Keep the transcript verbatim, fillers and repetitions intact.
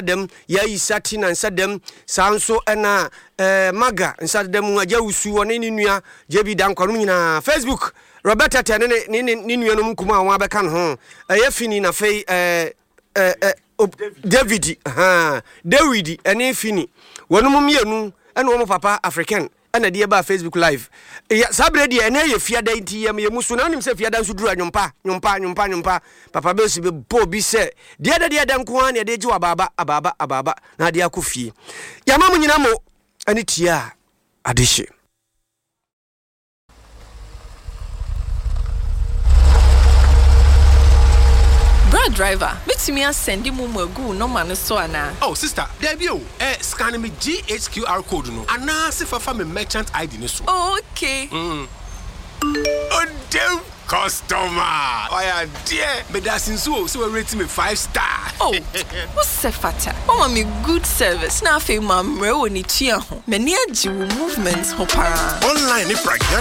Dɛm yɛayi sati na nsa dɛm saa nso ɛna ɛɛ maga nsa dɛm agya wusu ɔne ne nua J B Dankwa nom nyinaa. Facebook, Roberta Tɛ ne ne ne ne nuanom nkumaa a wɔn abɛka ne ho, ɛyɛ Fini na afei ɛɛ ɛɛ David haa David ɛne Fini, wɔn mu mmienu ɛna wɔn papa African ɛna ɛde ɛbaa Facebook Live. Yɛ saa berɛ deɛ, ɛnɛ yɛ fiada nti yɛ yɛ mu so na wonim sɛ fiada nso duru a, nwompa nwompa nwompa nwompa papa bɛsi bɛbɔ obi sɛ deɛ dɛ deɛ dɛ nko ara ne ɛde gye wɔ abaaba abaaba abaaba na adeɛ akɔ fie. Yɛama mo nyina mo ɛne tie a adehye. Bra driver, mɛtumi asend MoMo agu wo nɔma no so anaa? Oh sister, daabi o, ɛ scan me G H Q R code no anaasɛ fafa me merchant I D no so. Oh, okay. mm. Odem customer ɔyɛ adeɛ, meda ase nso o sɛ wɔarate me five star. Oh, wosɛ fata wama me good service na afei mammrɛ wɔ ne tua ho. M'ani agye wo movement ho paa. Online ne pragya.